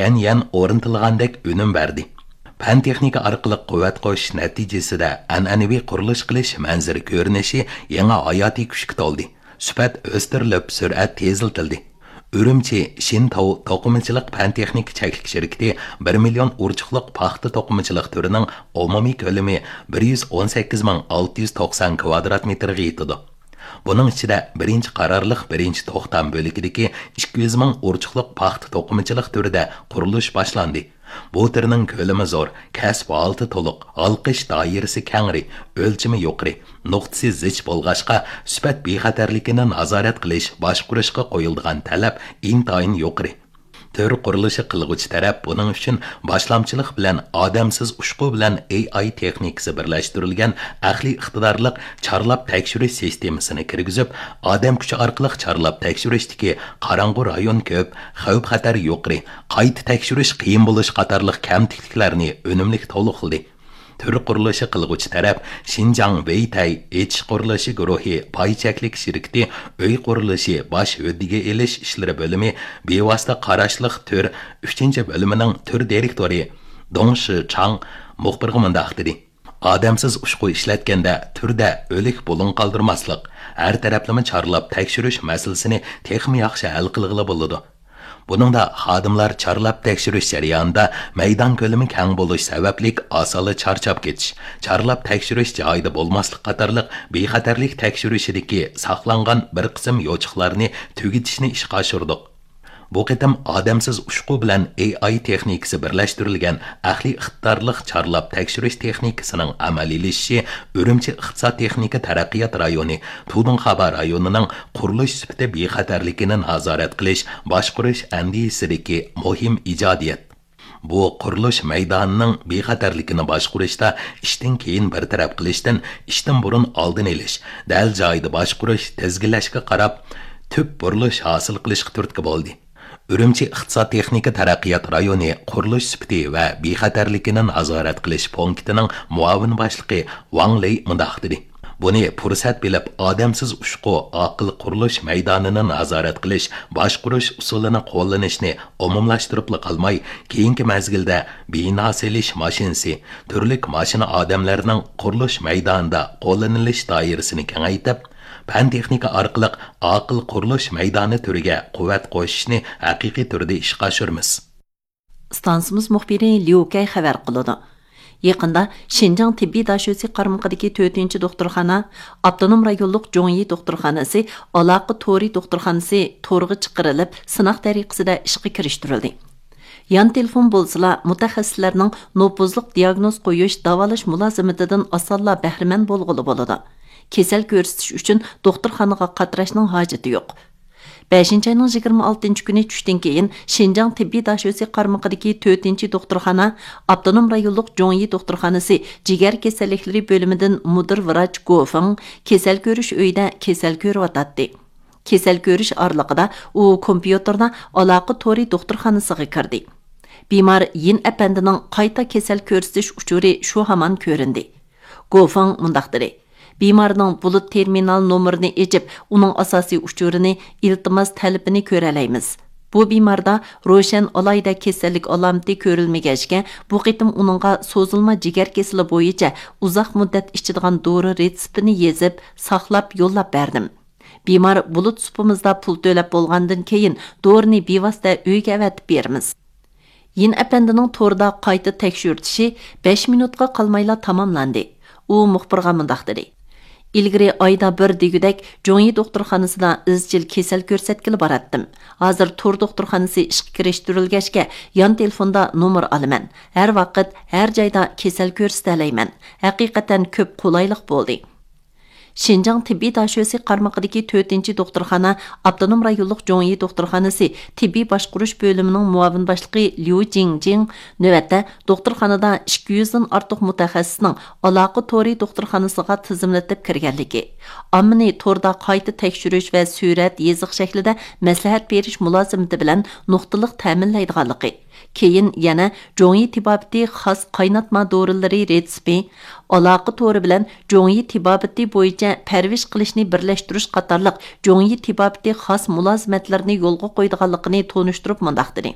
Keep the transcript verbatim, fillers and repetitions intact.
يەنيەن ئورنىتىلغاندەك ئۈنۈم بەردى. پەن تېخنىكا ئارقىلىق قۇۋۋەت قوشۇش نەتىجىسىدە ئەنئەنىۋى قۇرۇلۇش قىلىش مەنزىرە كۆرۈنۈشى يېڭى ھاياتىي كۈچكە تولدى. سۈپەت ئۆستۈرۈلۈپ، سۈرئەت تېزلىتىلدى. ئۈرۈمچى شىنتاۋ توقۇمىچىلىق پەن تېخنىكا چەكلىك شىركىتى بىر مىليون ئۇرچۇقلۇق پاختا توقۇمىچىلىق تۈرىنىڭ ئومۇمىي كۆلىمى بىر يۈز ئون سەككىز مىڭ ئالتە يۈز توقسان كىۋادرات مېتىرغا يېتىدۇ. بۇنىڭ ئىچىدە بىرىنچى قارارلىق بىرىنچى توختام بۆلىكىدىكى ئىككى يۈز مىڭ ئۇرچۇقلۇق پاختا توقۇمىچىلىق تۈرىدە قۇرۇلۇش باشلاندى. بۇ تۈرنىڭ كۆلىمى زور، كەسىپ ھالىتى تولۇق، ھالقىش دائىرىسى كەڭرى، ئۆلچىمى يۇقىرى، نۇقتىسى زىچ بولغاچقا، سۈپەت بىخەتەرلىكىنى نازارەت قىلىش، باشقۇرۇشقا قويۇلىدىغان تەلەپ ئىنتايىن يۇقىرى. تۈر قۇرۇلۇشى قىلغۇچى تەرەپ بۇنىڭ ئۈچۈن باشلامچىلىق بىلەن ئادەمسىز ئۇچقۇ بىلەن ئېي ئاي تېخنىكىسى بىرلەشتۈرۈلگەن ئەقلىي ئىقتىدارلىق چارلاپ تەكشۈرۈش سىستېمىسىنى كىرگۈزۈپ، ئادەم كۈچى ئارقىلىق چارلاپ تەكشۈرۈشتىكى قاراڭغۇ رايون كۆپ، خەۋپ-خەتەر يۇقىرى، قايتا تەكشۈرۈش قىيىن بولۇش قاتارلىق كەمتۈكلۈكلەرنى ئۈنۈملۈك تولۇقلىدى. تۈر قۇرۇلۇشى قىلغۇچى تەرەپ شىنجاڭ ۋېيتەي ئېچىش قۇرۇلۇشى گۇرۇھى پاي چەكلىك شىركىتى ئۆي قۇرۇلۇشى باش ھۆددىگە ئېلىش ئىشلىرى بۆلۈمى بىۋاسىتە قاراشلىق تۈر ئۈچىنچى بۆلۈمىنىڭ تۈر دىرېكتورى دۇڭ شىچاڭ مۇخبىرغا مۇنداق دېدى: ئادەمسىز ئۇچقۇ ئىشلەتكەندە تۈردە ئۆلۈك بۇلۇڭ قالدۇرماسلىق، ھەر تەرەپلىمە چارلاپ تەكشۈرۈش مەسىلىسىنى تېخىمۇ ياخشى ھەل قىلغىلى بولىدۇ. بۇنىڭدا خادىملار چارلاپ تەكشۈرۈش جەريانىدا مەيدان كۆلىمى كەڭ بولۇش سەۋەبلىك ئاسانلا چارچاپ كېتىش، چارلاپ تەكشۈرۈش جايىدا بولماسلىق قاتارلىق بىخەتەرلىك تەكشۈرۈشىدىكى ساقلانغان بىر قىسىم يوچۇقلارنى تۈگىتىشنى ئىشقا ئاشۇردۇق. بۇ قېتىم ئادەمسىز ئۇچقۇ بىلەن ئېي ئاي تېخنىكىسى بىرلەشتۈرۈلگەن ئەقلىي ئىقتىدارلىق چارلاپ تەكشۈرۈش تېخنىكىسىنىڭ ئەمەلىيلىشىشى ئۈرۈمچى ئىقتىساد تېخنىكا تەرەققىيات رايونى، تۇدۇڭخابا رايونىنىڭ قۇرۇلۇش سۈپىتى بىخەتەرلىكىنى نازارەت قىلىش، باشقۇرۇش ئەندىزىسىدىكى مۇھىم ئىجادىيەت. بۇ قۇرۇلۇش مەيدانىنىڭ بىخەتەرلىكىنى باشقۇرۇشتا ئىشتىن كېيىن بىر تەرەپ قىلىشتىن ئىشتىن بۇرۇن ئالدىنى ئېلىش، دەل جايىدا باشقۇرۇش، تىزگىنلەشكە قاراپ تۈپ بۇرۇلۇش ھاسىل قىلىشقا تۈرتكە بولدى. ئۈرۈمچى ئىقتىساد تېخنىكا تەرەققىيات رايونى قۇرۇلۇش سۈپىتى ۋە بىخەتەرلىكىنى نازارەت قىلىش پونكىتىنىڭ مۇئاۋىن باشلىقى ۋاڭ لېي مۇنداق دېدى: بۇنى پۇرسەت بىلىپ، ئادەمسىز ئۇچقۇ ئاقىل قۇرۇلۇش مەيدانىنى نازارەت قىلىش، باشقۇرۇش ئۇسۇلىنى قوللىنىشنى ئومۇملاشتۇرۇپلا قالماي، كېيىنكى مەزگىلدە بىنا سېلىش ماشىنىسى، تۈرلۈك ماشىنا ئادەملەرنىڭ قۇرۇلۇش مەيدانىدا قوللىنىلىش دائىرىسىنى كېڭەيتىپ، پەن تېخنىكا ئارقىلىق ئاقىل قۇرۇلۇش مەيدانى تۈرىگە قۇۋۋەت قوشۇشنى ھەقىقىي تۈردە ئىشقا ئاشۇرىمىز. ئىستانسىمىز مۇخبىرى ليۇ كەي خەۋەر قىلىدۇ. يېقىندا شىنجاڭ تېببىي داشۆسى قارمىقىدىكى تۆتىنچى دوختۇرخانا، ئاپتونوم رايونلۇق جوڭيى دوختۇرخانىسى، ئالاقە تورى دوختۇرخانىسى تورغا چىقىرىلىپ، سىناق تەرىقىسىدە ئىشقا كىرىشتۈرۈلدى. يان تېلېفون بولسىلا، مۇتەخەسسىسلەرنىڭ نوپۇزلۇق دىياگنوز قويۇش، داۋالاش مۇلازىمىتىدىن ئاسانلا بەھرىمەن بولغىلى بولىدۇ. كېسەل كۆرسىتىش ئۈچۈن دوختۇرخانىغا قاتراشنىڭ ھاجىتى يوق. بەشىنچى ئاينىڭ يىگىرمە ئالتىنچى كۈنى چۈشتىن كېيىن، شىنجاڭ تېببىي داشۆسى قارمىقىدىكى تۆتىنچى دوختۇرخانا، ئاپتونوم رايونلۇق جوڭيى دوختۇرخانىسى جىگەر كېسەللىكلىرى بۆلۈمىدىن مۇدىر ۋراچ گو فېڭ كېسەل كۆرۈش ئۆيىدە كېسەل كۆرۈۋاتاتتى. كېسەل كۆرۈش ئارىلىقىدا ئۇ كومپيۇتېردا ئالاقە تورى دوختۇرخانىسىغا كىردى. بىمار يىن ئەپەندىنىڭ قايتا كېسەل كۆرسىتىش ئۇچۇرى شۇ ھامان كۆرۈندى. گو فېڭ مۇنداق دېدى: بىمارنىڭ بۇلۇت تېرمىنال نومۇرىنى ئېچىپ، ئۇنىڭ ئاساسىي ئۇچۇرىنى، ئىلتىماس تەلىپىنى كۆرەلەيمىز. بۇ بىماردا روشەن ئالاھىدە كېسەللىك ئالامىتى كۆرۈلمىگەچكە، بۇ قېتىم ئۇنىڭغا سوزۇلما جىگەر كېسىلى بويىچە ئۇزاق مۇددەت ئىچىدىغان دورا رېتسېپىنى يېزىپ، ساقلاپ يوللاپ بەردىم. بىمار بۇلۇت سۇپىمىزدا پۇل تۆلەپ بولغاندىن كېيىن، دورىنى بىۋاسىتە ئۆيگە ئەۋەتىپ بېرىمىز. يىن ئەپەندىنىڭ توردا قايتا تەكشۈرتۈشى بەش مىنۇتقا قالمايلا تاماملاندى. ئۇ مۇخبىرغا مۇنداق دېدى: ئىلگىرى ئايدا بىر دېگۈدەك جوڭيى دوختۇرخانىسىدا ئىزچىل كېسەل كۆرسەتكىلى باراتتىم. ھازىر تور دوختۇرخانىسى ئىشقا كىرىشتۈرۈلگەچكە، يان تېلېفوندا نومۇر ئالىمەن. ھەر ۋاقىت، ھەر جايدا كېسەل كۆرسىتەلەيمەن. ھەقىقەتەن كۆپ قولايلىق بولدى. شىنجاڭ تېببىي داشۆسى قارمىقىدىكى تۆتىنچى دوختۇرخانا، ئاپتونوم رايونلۇق جوڭيى دوختۇرخانىسى تېببىي باشقۇرۇش بۆلۈمىنىڭ مۇئاۋىن باشلىقى ليۇ جىڭجىڭ نۆۋەتتە دوختۇرخانىدا ئىككى يۈزدىن ئارتۇق مۇتەخەسسىسنىڭ ئالاقە تورى دوختۇرخانىسىغا تىزىملىتىپ كىرگەنلىكى، ئاممىنى توردا قايتا تەكشۈرۈش ۋە سۈرەت يېزىق شەكلىدە مەسلىھەت بېرىش مۇلازىمىتى بىلەن نۇقتىلىق تەمىنلەيدىغانلىقى، كېيىن يەنە جوڭيى تېبابىتى خاس قايناتما دورىلىرى رېتسېپى، ئالاقە تورى بىلەن جوڭيى تېبابىتى بويىچە پەرۋىش قىلىشنى بىرلەشتۈرۈش قاتارلىق جوڭيى تېبابىتى خاس مۇلازىمەتلىرىنى يولغا قويىدىغانلىقىنى تونۇشتۇرۇپ مۇنداق دېدى: